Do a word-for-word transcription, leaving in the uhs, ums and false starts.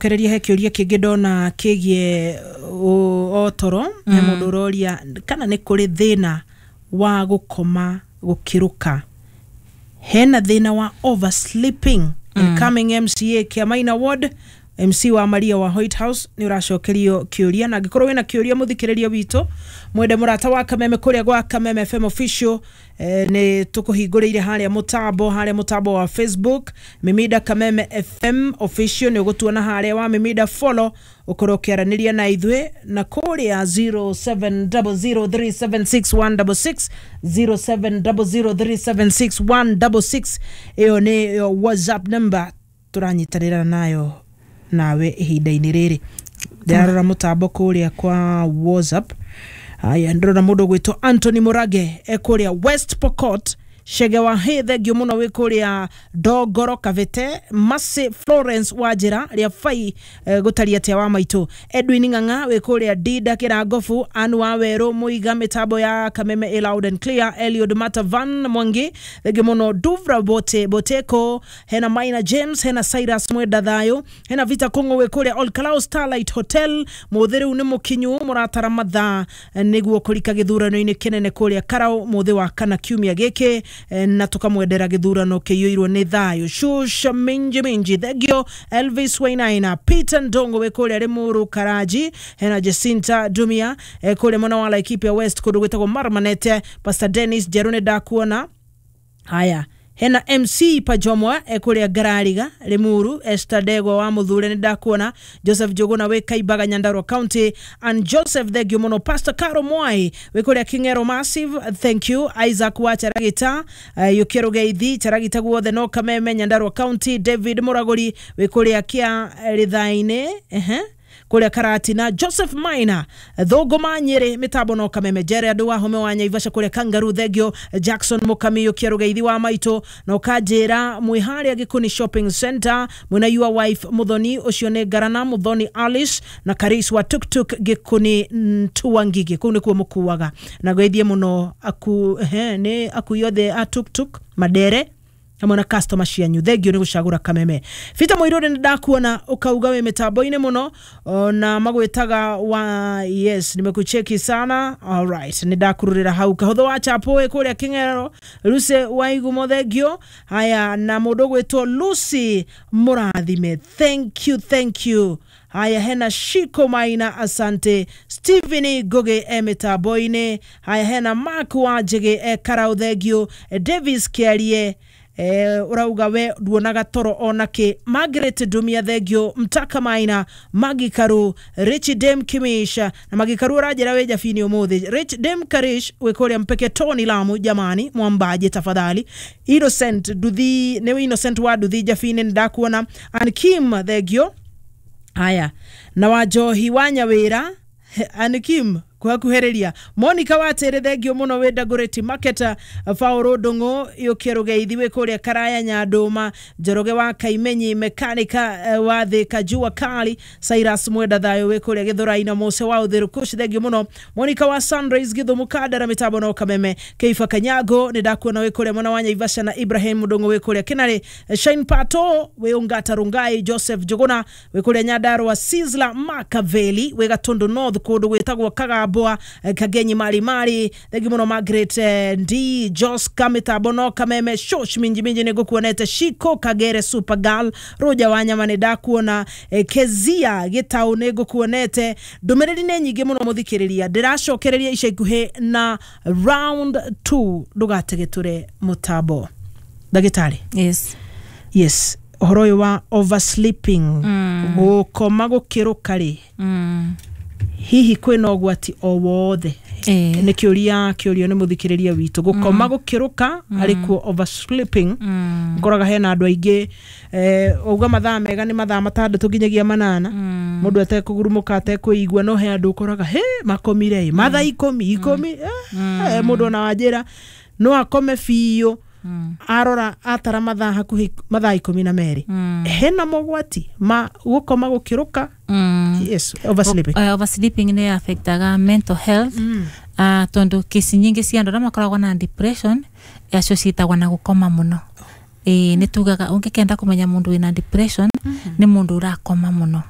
Kereria he kĩũria kĩngĩ ndona kĩgiĩ o toro. He mũndũ ũroria kana nĩ kũrĩ thĩna wa gũkoma gũkĩrũka, hena thĩna wa oversleeping. Incoming M C A Kĩamaina Ward, M C wa Maria wa White House, nĩ ũracokerio kĩũria. Na angĩkorwo wĩna kĩũria, mũthikĩrĩria witũ mwende mũrata wa Kameme kũrĩa gwa Kameme F M official, eh, nĩ tũkũhingũrĩire harĩa mũtambo harĩa mũtambo wa Facebook, Mimida Kameme F M official, nĩ ũgũtuona harĩa wa Mimida follow, ũkorwo ũkĩaranĩria na ithuĩ na kũrĩa zero seven zero zero three seven six one six six, zero seven zero zero three seven six one six six. Ĩyo nĩ WhatsApp number tũranyitanĩra nayo nawe ihinda-inĩ rĩrĩ. Ndĩrarora mũtambo kũrĩa kwa WhatsApp. Aya, ndĩrona mũndũ ũgwĩtwo Anthony Mũrage e kũrĩa West Pokot. Chege wa hĩ, thengio mũno wĩ kũrĩa Ndongoro Kavete. Masi Florence wa njĩra rĩa bai, eh, gũtaria atĩa wa maitũ? Edwin Ng'ang'a wĩ kũrĩa Dinda Kĩrangobu. Anu wa Werũ Mũiga, mĩtambo ya Kameme ĩ loud and clear. Eliud Matavan Mwangi, thengio mũno. Duvra Bote Boteko, hena Maina James, hena Cyrus Mwenda Thayo, hena Vita Kong'o wĩ kũrĩa Olkalau Starlight Hotel. Mũthĩ rĩu nĩ mũkinyu, mũratara mathaa eh, nĩguo kũrika gĩthurano-inĩ kĩnene kũrĩa Karau mũthĩ wa kana kiumia gĩkĩ, eh, na tũkamwendera gĩthurano kĩiyũirwo nĩ thayũ. Shusha minji minji, thengio. Elvis Wainaina, Peter Ndongo wĩ kũrĩa Limuru Karaji, hena Jacinta Dumia eh, kũrĩa mwena wa Laikipia West kũndũ gwĩtagwo Marmanete. Pastor Dennis Njeru, nĩ ndakuona. Haya, hena M C Pajomwa ekuria Ngarariga Limuru. Esther Ndegwa wa Muthure, nĩ ndakuona. Joseph Njuguna wĩ Kaimbaga, Nyandarua County, and Joseph, thengio mũno. Pastor Caro Mwai wĩ kũrĩa King'ero Massive, thank you. Isaac wa Charagita, uh, Yukio Rugeithi Charagita guothe no Kameme, Nyandarua County. David Muraguri wĩ kũrĩa Kia Rithainĩ, ehe, kuria Karatina. Joseph Maina Thũngũma Nyĩrĩ, mĩtambo no Kameme. Jere andũ wa home wa Nyaivasha kũrĩa Kangaru, thengio. Jackson Mũkamio Kĩarũgeithi wa maitũ, na ũkanjĩra mwĩ harĩa Gĩkũni Shopping Center mwĩna your wife Mũthoni, ũcio nĩ Ngarana Mũthoni Alice na Karis wa Tuktuk Gĩkũni Tuangigi, kũu nĩkuo mũkuaga na geithie mũno aku he, nĩ akui othe a tuktuk Madere hamwe na customer cianyu. Thengio nĩ gũcagũra Kameme. Peter Mũirũrĩ, nĩ ndakuona ũkauga wĩ mĩtambo-inĩ mũno na magwĩtaga wa yes, nimekucheki sana. Alright, nĩ ndakururĩra hau. Kahũthũ wa Chapo wĩ kũrĩa Kĩng'ero. Lucy Waigumo, thengio. Haya, na mũndũ ũgwĩtwo Lucy Mũrathime, thank you, thank you. Haya, hena Shiko Maina, asante. Stephen Ngugi e mĩtambo-inĩ. Haya, hena Mark wa Njĩgĩ e Karau, thengio. Davis Kĩarie, eh, urauga we nduonaga toro ona kä. Margaret Ndumia, thengio. Mtaka Maina, Magi Karu, Rich Dem Kimisha na Magi Karu ũranjĩra wĩ njabini ũmũthĩ. Rich Dem Karish wĩ kũrĩa Mpeke Tony Lamu, jamani mwambaje tafadhali. Innocent Nduthi, nĩ Innocent wa Nduthi njabini, nĩ ndakuona. An Kim, thengio. Haya, na Wanjohi wa Nyawĩra, An Kim kuhakuhĩrĩria. Monica Watere, thengio mũno wĩ Dagoretti Market. Paul Ndung'u yũkie rũgeithi wĩ kũrĩa Karaya Nyandũma. Njoroge wa Kaimenyi mekanika wa Thika Jua Kali. Cyrus Mwenda Thayo wĩ kũrĩa Gĩthũrai na Mose wa Ũthĩrũkush, thengio mũno. Monica wa Sunrise Gĩthumo Kandara, mĩtambo no Kameme. Keifa Kanyago, nĩ ndakuona wĩ kũrĩa mwena wa Nyaivasha, na Ibrahim Ndung'u wĩ kũrĩa Kinarĩ. Shine Pato wĩ Ungata Rungai. Joseph Njuguna wĩ kũrĩa Nyandarua. Sizzla Makaveli wĩ Gatundu North kũndũ gwĩtagwo Kagambwa, Kagenyi Mari Mari, thengio mũno. Margaret D Joska, mĩtambo no Kameme. Shosh minji minji, nĩ ngũkuonete. Shiko Kagere Supergirl Rũja wa nyama, nĩ ndakuona. Kezia Gĩtaũ, nĩ ngũkuonete. Ndũmĩrĩri nĩ nyingĩ mũno, mũthikĩrĩria, ndĩracokereria ica ikuhĩ na round two, ndũgategĩtũre mũtambo. Ndagĩtarĩ. Yes. Yes, ũhoro ũyũ wa oversleeping, gũkoma gũkĩrũka rĩ, Mm. hihi kwĩna ũgwati o wothe? Eh. Nĩ kĩũria kĩũrio nĩ mũthikĩrĩria witũ. Gũkoma gũkĩrũka arĩ kuo oversleeping. Mm. Ngoraga hena andũ aingĩ, eh, uga mathaa mega nĩ mathaa matandatũ nginyagia manana, Mm. mũndũ atekũgurumũka, atekũigua, no he andũ ũkoraga he makomire ĩ mathaa ikũmi ikũmi, eh, mũndũ ona wanjĩra no akome biũ, Mm. arora atara mathaa hakuhĩ mathaa ikũmi na merĩ. Mm. Hena mogwati ma gũkoma gũkĩrũka? Mm. Yes, oversleeping. Uh, oversleeping nĩ affectaga mental health, Mm. uh, tondu kesi nyingi cia andu aria makoragwo na depression acio ciĩtagwo na gũkoma mũno. Ĩĩ, nĩ tugaga ũngĩkenda kũmenya mũndũ wĩna depression Nĩ mũndũ ũrakoma mũno.